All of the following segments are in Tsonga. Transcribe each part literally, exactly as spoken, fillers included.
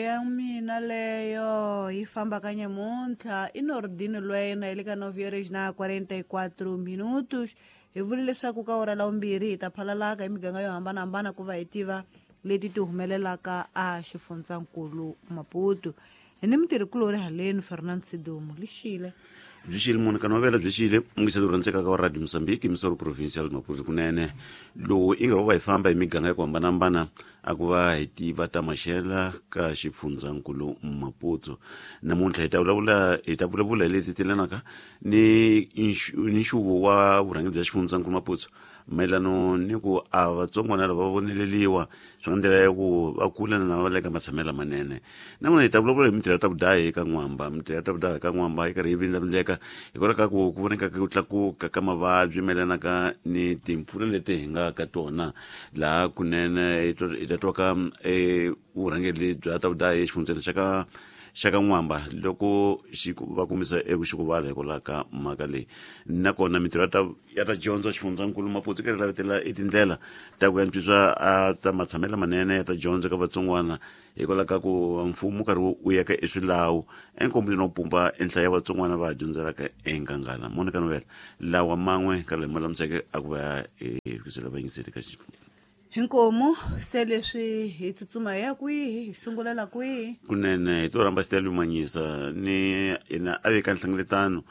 Ya mina leyo yi famba ka nyamuntlha i Nordino Lwena hi le ka nove horas na quarenta e quatro minutos. Hi vule leswaku ka ora la vumbirhi hi ta phalalaka hi miganga yo hambanahambana ku va hi tiva leti ti humelelaka a xifundzankulu Maputo. Hi ni mutirhikulori haleni Fernando Sidumo lixile. Byi xile Monica Novela byi xile mungiselo rhandzekaka wa Radio Mozambique Misoro Provincial Maputo kunene lowu i nga va hi famba hi miganga ya ku hambanahambana a ku va hi tiva ta maxela ka xifundzankulu Maputo. Namuntlha hi ta vulavula hi ta vulavula hi leti telanaka ni ni nxuvo wa vurhangeri bya xifundzankulu Maputo mayelano ni ku a vatsongwana lava va voneleliwa swi nga ndlela ya ku va kula na va le ka matshamelo lamanene. Nakona hi ta vulavula hi mintirho ya ta vudahi eka N'wamba. Mintirho ya ta vudahi eka N'wamba yi karhi yi vindlavindleka hikwalaho ka ku ku voneka ku tlakuka ka mavabyi mayelanaka ni timpfula leti hi nga ka tona laha kunene hi ta twa ka vurhangeri bya ta vudahi exifundzeni xa ka xa ka N'wamba loko xi va kumisa eku xikuvala hikwalaho ka mhaka leyi. Nakona mintirho ya ta ya ta dyondzo xifundzankulu Maputo yi karhi lavetela i tindlela ta ku antswisa a ta matshamelo lamanene ya ta dyondzo ka vatsongwana hikwalaho ka ku mfumo karhi wu yaka eswilawu enkombeni wo pumba enhla ya vatsongwana va dyondzelaka enkangala. Monica Novela lawa man'we ka lama lamiseke a ku va hi fikisela vayingiseri ka xifundza. Hinkomu se leswi hi tsutsuma hi ya kwihi hi sungulela kwihi? Kunene hi to rhamba Stella Manyisa ni yena a veka nhlengeletano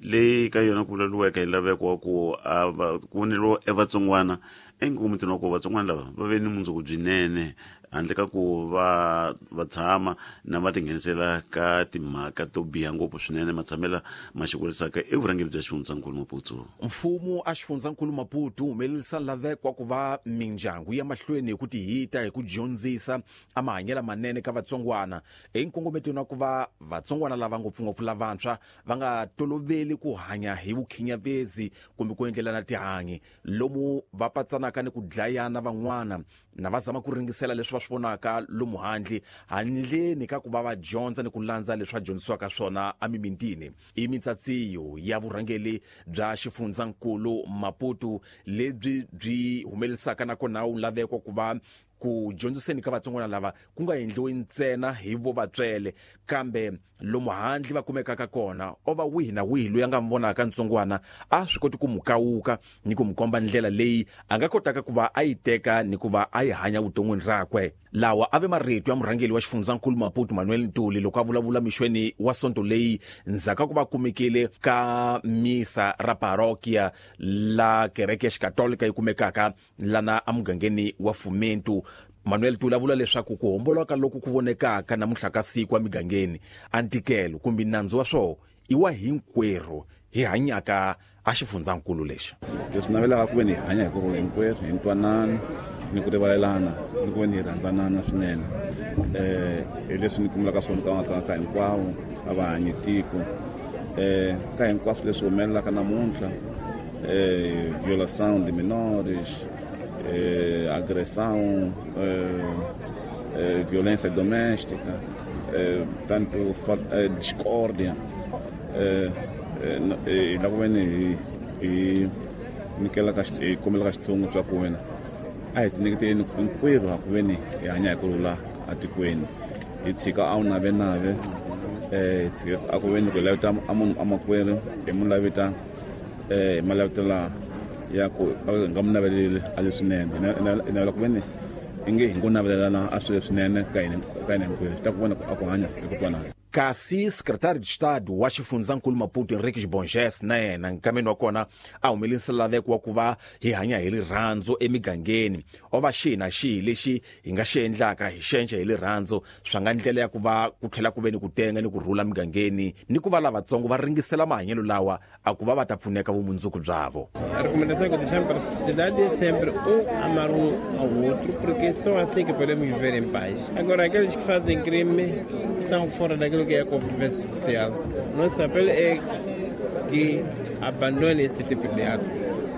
leyi ka yona ku vulavuriweke hi laveko wa ku a va ku voneriwa evatsongwana enkomitini wa ku vatsongwana lava va ve ni mundzuku byinene handle ka ku va va tshama na va tinghenisela ka timhaka to biha ngopfu swinene matshamela ma xikurisaka evurhangeri bya xifundzankulu Maputo. Mfumo a xifundzankulu Maputo wu humelerisa laveko wa ku va mindyangu ya mahlweni hi ku tihita hi ku dyondzisa a mahanyelo manene ka vatsongwana hi nkongometweni wa ku va vatsongwana lava ngopfungopfu lavantshwa va nga toloveli ku hanya hi vukhinyavezi kumbe ku endlelana tihanyi lomu va patsanaka ni ku dlayana van'wana na va zama ku ringisela leswi va swi vonaka lomu handle handleni ka ku va va dyondza ni ku landza leswi va dyondzisiwaka swona emimitini. I mitsatsiyo ya vurhangeri bya xifundzankulu Maputo lebyi byi humelerisaka nakona wu laveko ku va ku dyondziseni ka vatsongwana lava ku nga endliwi ntsena hi vo vatswele kambe lomu handle va kumekaka kona o va wihi na wihi loyi a nga mi vonaka ntsongwana a swi koti ku mu kawuka ni ku mu komba ndlela leyi a nga kotaka ku va a yi teka ni ku va a yi hanya vuton'wini rakwe. Lawa a ve marito ya murhangeri wa xifundzankulu Maputo Manuel Ntuli loko a vulavula mixweni wa sonto leyi ndzhaku ka ku va kumekile ka misa ra parokia la kereke ya xikatolika yi kumekaka lana emugangeni wa Fumento. Manuel Ntuli a vula leswaku ku homboloka loku ku vonekaka namuntlha ka siku emigangeni a ntikelo kumbe nandzu wa swona i wa hinkwerhu hi hanyaka a xifundzankulu lexi. Leswi navelaka ku ve ni hi hanya hi ku rhula hinkwerhu hi ntwanano ni ku rivalelana ni ku ve ni hi rhandzanana swinene. um hi leswi ni kumelaka swona ka ka ka hinkwavo a va hanyi tiko um ka hinkwaswo leswi humelelaka namuntlha um violação de menores, eh, agressão, eh, eh, violência doméstica, eh, tanto eh, discórdia, eh, eh, la ku ve ni hi hi nyikelaka hi kombelaka xitshungu swa ku wena a hi tinyiketeleni hinkwerhu ha ku ve ni hi hanya hi ku rhula atikweni hi tshika a wu navenave eh hi tshika a ku ve ni ku laveta a munhu a makwerhu hi mu laveta eh hi ma lavetela ya ku nga mu naveleli a leswinene hi navela ku ve ni i nge hi ngo navelelana a swilo leswinene ka hina ka hina hinkwerhu swi ta ku vona a ku hanya hi ku twanana. Kasi secretário de Estado wa xifundzankulu Maputo Henriques Bonges na yena nkameni wa kona a humelerisa laveko wa ku va hi hanya hi rirhandzu emigangeni o va xihi na xihi lexi hi nga xi endlaka hi xenxe hi rirhandzu swa nga ndlela ya ku va ku tlhela ku ve ni ku tenga ni ku rhula migangeni ni ku va lavatsongo va ringisela mahanyelo lawa a ku va va ta pfuneka vumundzuku byavo. A recomendação que deixamos para a sociedade é sempre um amar um ao outro, porque só assim que podemos viver em paz. Agora, aqueles que fazem crime estão fora daquilo que é a convivência social. Nosso apelo é que abandone esse tipo de ato.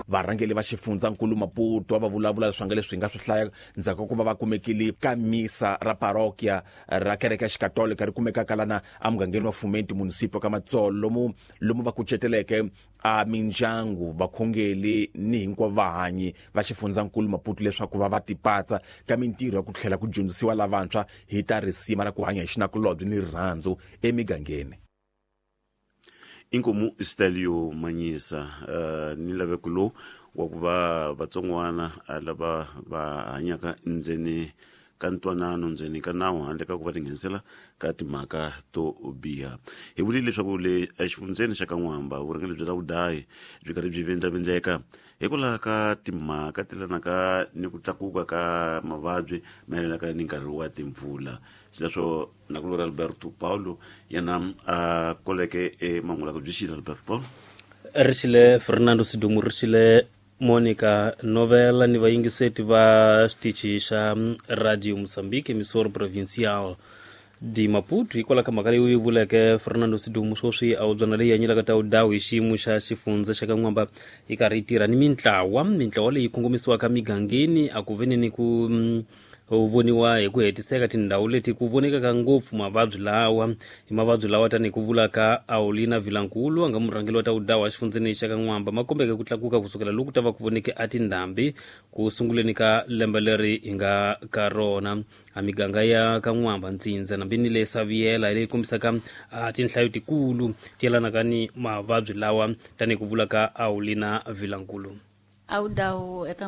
Varhangeli va xifundzankulu Maputo va vulavula leswi nga leswi nga swi hlaya ndzhaku ka ku va va kumekile ka misa ra parokia ra kereke ya xikatolika ri kumekaka lana emugangeni wa Fumenti municipio ka Matsolo, lomu lomu va kuceteleke a mindyangu, vakhongeli ni hinkwavo vahanyi va xifundzankulu Maputo leswaku va va tipatsa ka mintirho ya ku tlhela ku dyondzisiwa lavantshwa hi ta risima ra ku hanya hi xinakulobye ni rirhandzu emigangeni. Inkomu Stelio Manyisa, uh, ni laveko lowu wa ku va vatsongwana lava va hanyaka ndzeni ka ntwanano, ndzeni ka nawu, handle ka ku va tinghenisela ka timhaka to biha. Hi vulile leswaku le exifundzeni xa ka N'wamba vurhangeri bya vudayi byi karhi byi vindlavindleka hikwalaho ka timhaka ti lanaka ni ku tlakuka ka mavabyi mayelanaka ni nkarhi wa timpfula. Xileswo nakulori Alberto Paulo yena a koleke emangulaka byi xile. Alberto Paulo ri xile Fernando Sidumu, ri xile Monica Novela ni vayingiseti va xitichi xa Radio Mozambique, emissora provincial de Maputo. Hikwalaho ka mhaka leyi u yi vuleke Fernando Sidumu, sweswi a wu byona leyi hanyelaka ta wudawu hi xiyimo xa xifundza xa ka N'wamba yi karhi yi tirha ni mintlawa mintlawa leyi kongomisiwaka migangeni a ku veni ni ku voniwa hi ku hetiseka tindhawu leti ku vonekaka ngopfu mavabyi lawa. Hi mavabyi lawa tanihi ku vula ka Aulina Vilankulu, a nga murhangeri wa ta wudawu exifundzeni xa ka N'wamba, ma kombeke ku tlakuka kusukela loku ta va ku voneke a tindhambi ku sunguleni ka lembe leri hi nga ka rona. A miganga ya ka N'wamba, Ntsindza nambi ni le Saviela leyi kombisaka a tinhlayo tikulu ti yelanaka ni mavabyi lawa tanihi ku vula ka Aulina Vilankulu. Awudawu eka